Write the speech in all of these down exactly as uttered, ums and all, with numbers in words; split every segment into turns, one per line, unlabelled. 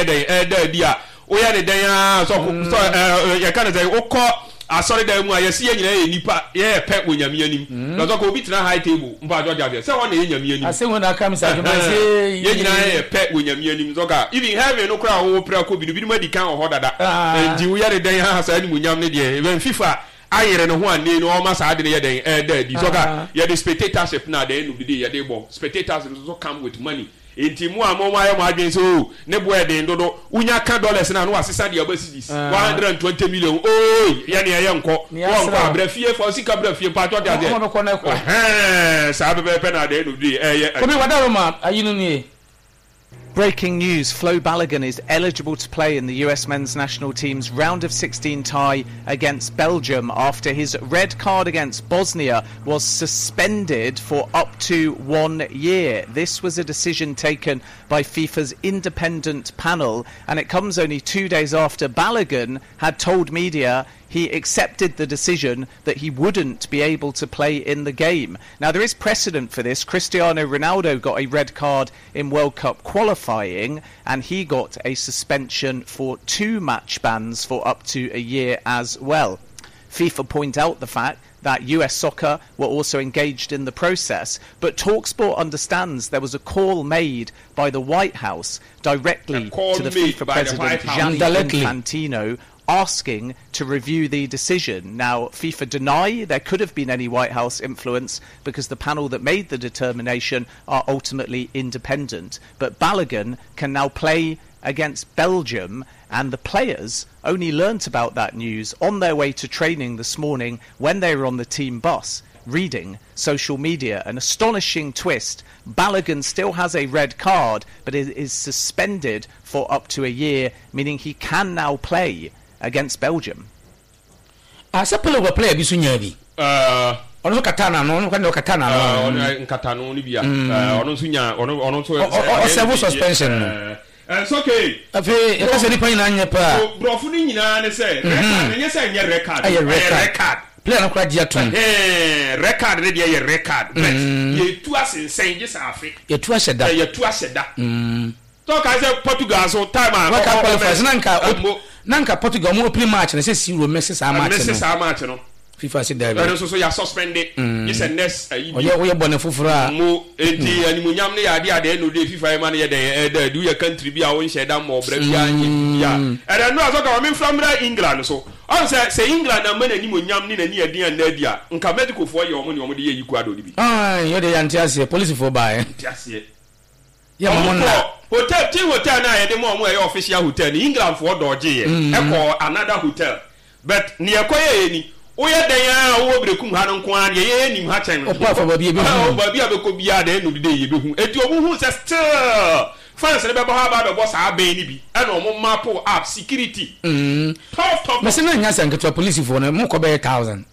Ɛyɛ dɛn ɛda adi a woyɛ ne dɛn a sɛ sɛ ɛɛ yɛka ne sɛ wokɔ asɔredan mu a, yɛsi yɛn nyinaa yɛ nipa, yɛyɛ pɛ wɔ Nyame anim. Na sɛ obi tena high table mpa atwa aseɛ sɛ hɔ na yɛ Nyame anim.
Asɛm wo na aka mi sɛ adwuma sɛ
yɛn nyinaa yɛ pɛ wɔ Nyame anim. Sɛ ɔka even heaven no koraa a wɔwɔ pere akɔ bi no, binom adi kan wɔ hɔ dada. Nti woyɛ ne dɛn ha saa animuonyam ne deɛ even FIFA ayere ne ho ane no ɔma saa de no yɛ dɛn ɛda adi. Sɛ ɔka yɛde spectatorship na at the end of the day yɛde bɔ spectatorship nso come with money. Nti mu a mo mo ayɛ mo adwene sɛ o ne bo ɛden dodo, wonya ka dollars na no wasesa deɛ ɔba cedis, one hundred and twenty million ooo, yɛ ne ɛyɛ nkɔ wɔn nkɔ abrɛ fie fa sika brɛ fie mpatsɔ de aseɛ.
Ɔmo bɛkɔ na ɛkɔ.
Ɛhɛn, saa pɛpɛɛpɛ na at the end of the day ɛyɛ.
Kobi wadaroma ayi no nie.
Breaking news: Flo Balogun is eligible to play in the U S men's national team's round of sixteen tie against Belgium after his red card against Bosnia was suspended for up to one year. This was a decision taken by FIFA's independent panel, and it comes only two days after Balogun had told media he accepted the decision that he wouldn't be able to play in the game. Now, there is precedent for this. Cristiano Ronaldo got a red card in World Cup qualifying, and he got a suspension for two match bans for up to a year as well. FIFA point out the fact that U S Soccer were also engaged in the process, but TalkSport understands there was a call made by the White House directly
A call
to the
made
FIFA
by the
president
White House.
Gianni
Directly.
Infantino asking to review the decision. Now, FIFA deny there could have been any White House influence because the panel that made the determination are ultimately independent. But Balogun can now play against Belgium, and the players only learnt about that news on their way to training this morning when they were on the team bus reading social media. An astonishing twist. Balogun still has a red card, but it is suspended for up to a year, meaning he can now play against Belgium.
Asɛ pele wɔ player bi so nyaa bi.
Ɛɛ
ɔno nso kata n'ano, ɔno kata ɔkata n'ano.
Ɔno nkata no bi a ɔno nso nya ɔno ɔno nso.
Ɔ- ɔ- ɔserve suspension no.
Ɛɛ okay.
Afei yɛka sɛ nipa nyinaa nyɛ paa.
Borɔfo no nyinaa ne sɛ red card, ɛnyɛ sɛ ɛnyɛ red card.
Ɛyɛ red card.
Red card.
Player no kora gye atom.
Ɛhɛn, red card ne deɛ yɛ red card, but yɛtu asensɛn gye sɛ afe.
Yɛtu ahyɛ da.
Ɛ, yɛtu ahyɛ da tɔka sɛ Portugal so time a
World Cup
ɔ- ɔ-
qualifiers na nka
ɛmo
na nka Portugal ɔmo opening match na sɛ si ro mɛsi saa match
mɛsi
no.
Saa match no.
FIFA si
ɛno
daabi.
Nso so yɛ suspend gye sɛ next ayi bi.
Ɔyɛ woyɛ bɔne foforɔ a.
Mo eti animuonyam ne yɛ adeɛ adeɛ no de FIFA yɛ ma no yɛ dɛn ɛda adi. Woyɛ country bi a wonhyɛ da mmɔ ɔbrɛ bi a nyɛ bi a ɛdɛ no a sɛ ka ma memfra mmra England so ɔn sɛ sɛ England ama n'animonyam ne n'ani ɛden anna adi a, nka Mexicofoɔ yɛ ɔmo ne ɔmo de yɛ Ecuador no bi.
Ayi yɛ de yante aseɛ, polisifoɔ baeɛ.
Nte aseɛ.
Yɛ mo mo
ɔmo
nna.
Kɔ hotel, team hotel na yɛde ma ɔmo a ɛyɛ official hotel ni, England foɔ dɔɔgye yɛ ɛkɔ another hotel, but nea ɛkɔ yɛ yɛ ni woyɛ dɛn a wowɔ Berekum ha no nko ara deɛ yɛyɛ nim ha kyɛn.
Ɔkɔ afa baabi ebi
Ah,
hu.
baabi a bɛkɔ biara deɛ ɛnu de yɛbɛhu. Eti ɔmo hu sɛ still fans ne bɛbɔ ha aba abɛbɔ saa abɛn ni bi, ɛna ɔmo map up security tough tough.
Mɛsɛ na nya sɛ nketewa, polisifoɔ no mo kɔ bɛyɛ thousand.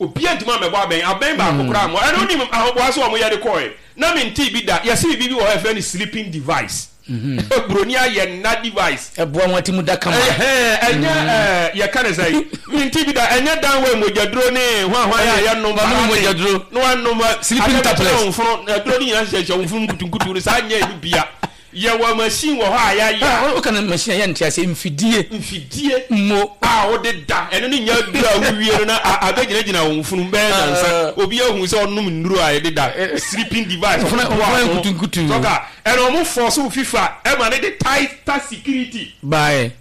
Obiara ntoma mɛbɔ abɛn abɛn baako koraa mo. Ɛna onim ahoboa so ɔmo yɛ de kɔɛ na mi nti bi da yɛsi bibi bi wɔ hɔ yɛfrɛ no sleeping device. Buroni ayɛ nna device.
Ɛboa wɔn ti mu da kama.
Ɛhɛn, ɛnyɛ ɛɛ yɛka ne sɛ mi nti bi da, ɛnyɛ dan wɔ mogyaduro ne hwanhwan a yɛnom.
Wɔnom mogyaduro.
Na wanom
Sleeping tablets.
Nfono aduro ne nyinaa hyehyɛ nfono nkutunkutu no saa nyɛ ɛnu bia. Yɛwɔ machine wɔ hɔ a yɛayɛ.
Ah, woka no machine a yɛnte ase, mfidie.
Mfidie.
Mo
a wode da ɛno ne nya duro a wowie no na a- abɛgyinagyina wo mfunu bɛyɛ nansa obi ahu sɛ ɔnom nnuro a yɛde da, sleeping device.
Mfunu-
ɔmo
mfunu
boa ho.
nkutunkutu.
Sɔka ɛna ɔmo force wo FIFA ɛma ne de tighter security.
Bae.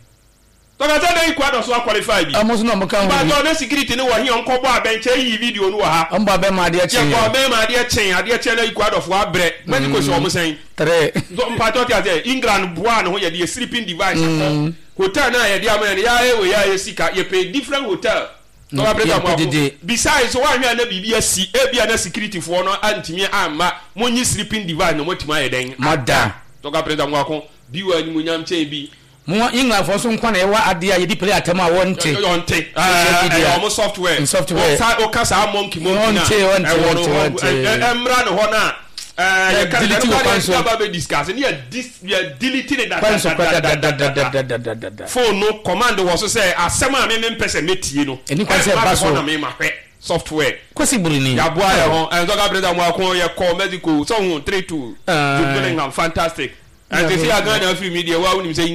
Sɔka sɛ dɛn Ecuador so aqualify bi.
Ɔmo nso na ɔmo ka ho bi.
Mpatsɔ ne security ne wɔ he ɔnkɔbɔ abɛnkyɛn yi video no wɔ ha.
Ɔmo bɔ abɛn ma adeɛ kye.
Yɛkɔ abɛn ma adeɛ kyɛn adeɛ kyɛn na Ecuador fo abrɛ Mexico sɛ ɔmo sɛn.
Tere.
Mpatsɔ ti ase, England boa ne ho yɛde yɛ sleeping device akɔ hotel na yɛde ama yɛn yɛayɛ wɔ yɛayɛ sika, yɛpɛ different hotel. Tọ́ka pẹ̀lú
yɛpɛ
àwọn
dede.
Besides so wahwɛ a na biribi asi, ebi a na security foɔ no antumi amma mo nyi sleeping device na mo atumi ayɛ dɛn.
Mada.
Tọ́ka pẹ̀lú àwọn akɔ bi wɔ animuonyam kyɛn bi.
Mo Englandfoɔ nso nkwa na ɛwɔ adeɛ a yɛde play atam a wɔnte.
Ɔnte.
Social media.
Ɛyɛ ɔmo software.
Software.
Ɔsa ɔka saa monkey monkey na
Ɔnte, ɔnte,
ɛwɔ no
ɔnte,
hɔ
ɔnte.
ɛ- ɛ- ɛmmra ne hɔ na ɛɛ yɛka
delete wɔ kwan so.
Yɛ ba bɛ discuss ne yɛ dis yɛ delete ne
kwan so kora
dadadadadada.
Dadadadadadada.
Phone no command wɔ so sɛ asɛm a mímí mpɛ sɛ mɛtie no
Ɛni kwan sɛ
ɛmma
ɛba
me
so.
hɔ na mema hwɛ software.
Kwasi Buroni.
Yaboa yɛ ho ɛnzɔka president mu ako yɛ kɔ Mexico sɔhun three two.
Aye.
Jude Bellingham, fantastic. Ɛnti sɛ yɛ Ghana afiri mi deɛ wa wonim sɛ England.